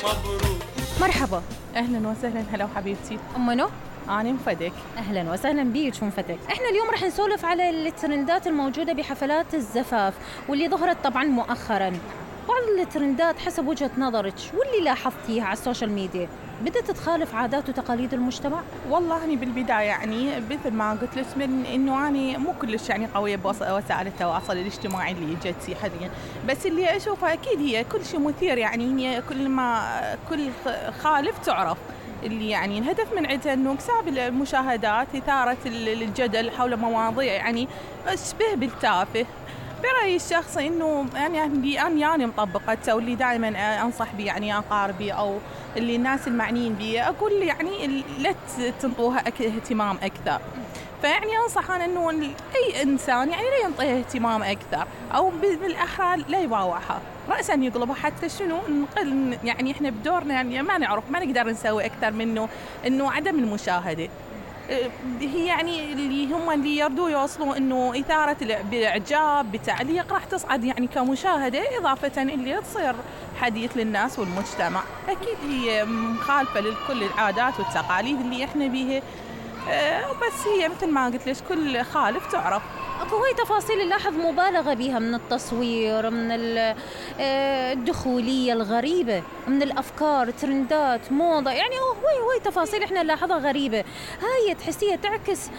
مبروك. مرحبا. اهلا وسهلا. هلا وحبيبتي. منو؟ انا ام فدك. اهلا وسهلا بيك ام فتك. احنا اليوم رح نسولف على الترندات الموجوده بحفلات الزفاف واللي ظهرت طبعا مؤخرا. بعض الترندات حسب وجهة نظرك واللي لاحظتيها على السوشيال ميديا بدأت تخالف عادات وتقاليد المجتمع؟ والله أنا بالبداية يعني مثل ما قلت لك من إنه أنا مو كلش يعني قوية بوسائل التواصل الاجتماعي اللي جتي حاليا، بس اللي أشوفه أكيد هي كل شيء مثير، يعني هي كل خالف تعرف. اللي يعني الهدف من عندها إنه اكساب المشاهدات، إثارة الجدل حول مواضيع يعني شبه بالتافه. برأيي الشخصي إنه يعني مطبقته، واللي دائما أنصح به يعني أقاربي أو اللي الناس المعنيين بي أقول يعني لا تنطوها اهتمام أكثر. فيعني أنصح أنا إنه أي إنسان يعني لا ينطيها اهتمام أكثر، أو بالأحرى لا يباوعها رأسا يقلبها. حتى شنو نقل يعني إحنا بدورنا يعني ما نقدر نسوي أكثر منه إنه عدم المشاهدة. هي يعني اللي يردوا يوصلوا إنه إثارة بالإعجاب بتعليق راح تصعد يعني كمشاهدة، إضافة اللي تصير حديث للناس والمجتمع. أكيد هي مخالفة لكل العادات والتقاليد اللي إحنا بيها، بس هي مثل ما قلت لك كل خالف تعرف. اكو هاي تفاصيل نلاحظ مبالغة بها من التصوير، من الدخولية الغريبة، من الأفكار، ترندات، موضة، يعني هاي تفاصيل احنا نلاحظها غريبة. هاي تحسيها تعكس